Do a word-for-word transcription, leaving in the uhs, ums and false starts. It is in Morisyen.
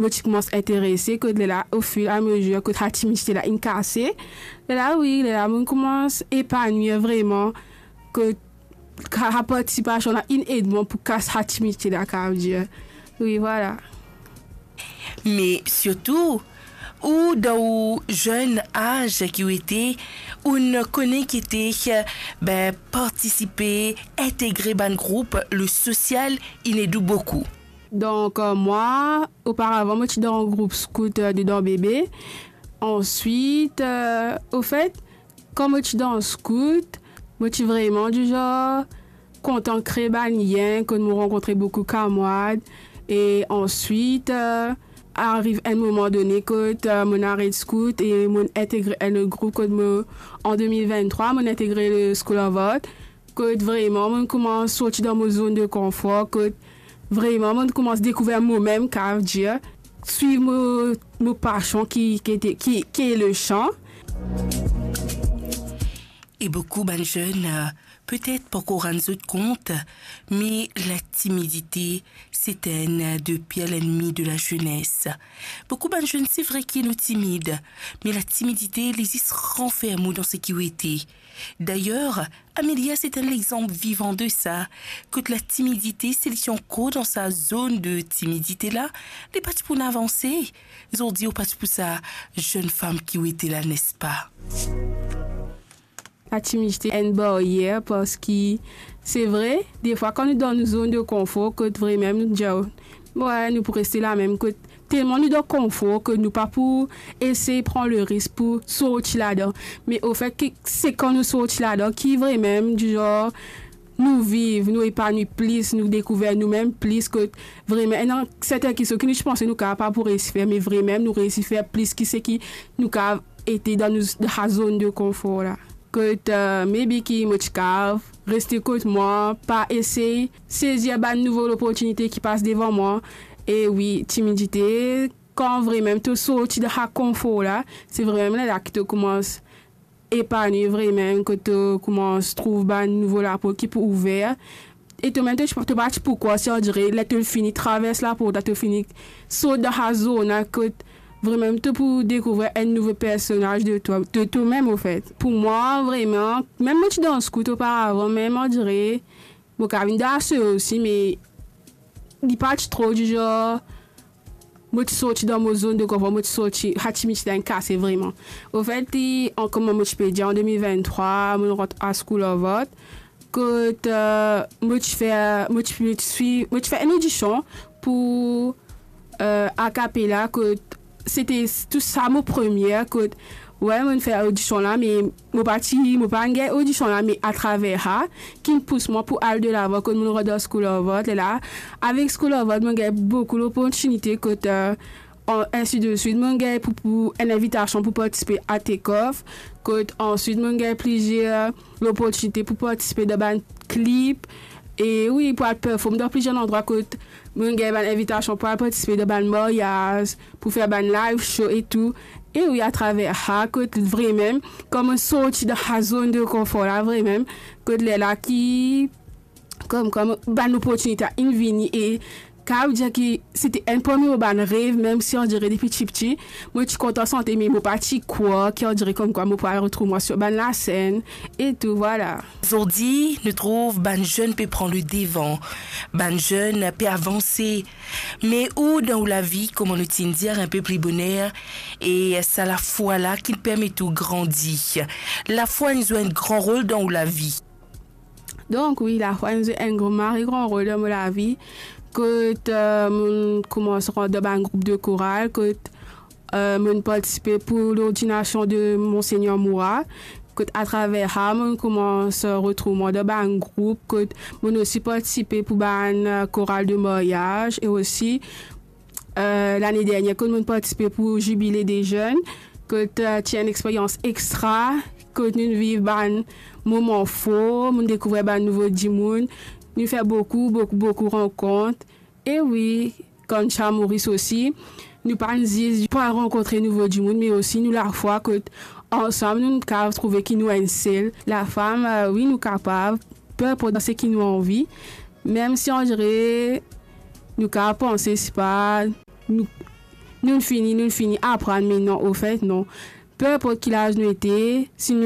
Mo ti koumans interese, kot lerla, o fir e a mezir, kot sa timidite la inn kase. Lerla, wi, lerla, mo koumans epanwir vreman, kot sa, sa partisipasion la inn ed mwa pou kas sa timidite la, kapav dir. Wi, vwala. Me sirtou, ou dan ou zenn az ki ou ete, ou'nn kone ki ete, be, partisipe, integre bann group, le sosial, inn ed ou boukou. Donk, euh, mwa, oparavan, mo ti dan group skout, euh, dedan bebe. Answit, euh, ofet, kan mo ti dan skout, mo ti vreman dizor kontan kre bann lien, kot mo rankontre boukou kamarad. E answit, euh, ariv enn moman done kot, euh, mo'nn aret skout e mo'nn integre enn lot group kot mo, an de mil venntrwa, mo'nn integre le School of Art. Kot vreman, mo'nn koumans sorti dan mo zone de confort, kot vreman, mo'nn koumans dekouver momem, kapav dir, swiv mo, mo pasion ki, ki ete, ki, ki le san. E boukou bann zenn, euh, petet pankor rann zot kont, me latimidite, se enn de pir lennmi de lazenes. Boukou bann zenn, se vre ki nou timid, me latimidite, li zis ranferm ou dan seki ou ete. Dayer, Amelia, se enn lexanp vivan de sa, kot latimidite, si li ti ankor dan sa zone de timidite la, li pa ti pou avanse. Zordi, ou pa ti pou sa zenn fam ki ou ete la, nespa? Latimidite enn baryer, parski se vre, defwa, kan nou dan nou zone de confort, kot vremem nou dir, "Wi, nou pou reste la mem," kot telman nou dan konfor ki nou pa pou esey pran le risk pou sorti ladan. Me ofet, ki, se kan nou sorti ladan ki vremem, dizor, nou viv, nou epanwi plis, nou dekouver noumem plis, kot vremem, ena sertin kestion ki nou ti panse nou kapav pa pou reysi fer, me vremem nou reysi fer plis ki seki nou kapav ete dan nou, dan sa zone de confort la. Kot, euh, maybe ki mo ti kapav reste kot mwa, pa esey sezir bann nouvo loportinite ki pas devan mwa. E wi, timidite, kan vremem to sorti dan sa konfor la, se vremem lerla ki to koumans epanwi vremem, kot to koumans trouv bann nouvo laport ki pou ouver. E to mem, to, to pa ti pou krwar, si on dirait, ler to fini travers laport la, to fini sort dan sa zone la, kot vremem to pou dekouver enn nouvo personaz de twa, de twa mem, ofet. Pou mwa, vremem, mem mo ti dan skout oparavan, mem on dirait, mo kapav vinn dan ase osi, me li pa ti tro dizor, mo ti sorti dan mo zone de konfor, mo ti sorti, sa timidite la inn kase vremem. Ofet, li, an, kouma mo ti pe dir, an de mil venntrwa, mo rant a School of Art, kot, euh, mo ti fer, mo ti, mo ti swiv, mo ti fer enn odision pou, euh, a cappella, kot sete tou sa mo premie, kot, wi, mo'nn fer odision la, me mo pa ti, mo pa'nn gagn odision la, me atraver sa, ki'nn pous mwa pou al delavan, kot mo'nn rant dan School of Art, lerla, avek School of Art, mo'nn gagn boukou loportinite, kot, euh, an, ensi de swit, mo'nn gagn pou, pou enn invitasion pou partisipe a Take Off, kot answit, mo'nn gagn plizier loportinite pou partisipe dan bann klip, e wi, pou al perform dan plizier landrwa, kot mo'nn gagn bann invitasion pou al partisipe dan bann maryaz, pou fer bann live show e tou. E wi, atraver sa, kot vremem, kan mo'nn sorti dan sa zone de konfor la, vremem, kot lerla ki, kom, kom bann loportinite inn vini e kapav dir ki sete enn parmi mo bann rev, mem si on dirait depi tipti, mo ti kontan sante, me mo pa ti krwar ki on dirait komkwa mo pou al retrouv mwa sir bann lasenn e tou, vwala. Zordi, nou trouv bann zenn pe pran le devan, bann zenn pe avanse. Me ou, dan ou lavi, kouma nou ti'nn dir inpe pli boner, e sa lafwa la ki permet ou grandi. Lafwa inn zwe enn gran rol dan ou lavi. Donk, wi, lafwa inn zwe enn gran, mari gran rol dan mo lavi. Kot, euh, mo'nn koumans rant dan bann group de koral, kot, euh, mo'nn partisipe pou lordinasion de Monsegner Moura, kot atraver sa, mo'nn koumans, euh, retrouv mwa dan bann group, kot mo'nn osi partisipe pou bann, euh, koral de maryaz, e osi, euh, lane dernier, kot mo'nn partisipe pou zibile de zenn, kot, euh, ti enn experyans extra, kot nou viv bann moman for, mo'nn dekouver bann nouvo dimoun, nou fer boukou, boukou, boukou rankont. E wi, kan nou ti a Moris osi, nou pa'nn zis pou al rankontre nouvo dimoun, me osi nou lafwa kot ansam nou kapav trouve ki nou enn sel. Lafam, euh, wi, nou kapav, pe inport dan seki nou anvi, mem si on dirait nou kapav panse, sipa, nou, Nou'nn fini, nou'nn fini aprann, me non, ofet, non. Pe inport ki laz nou ete, si nou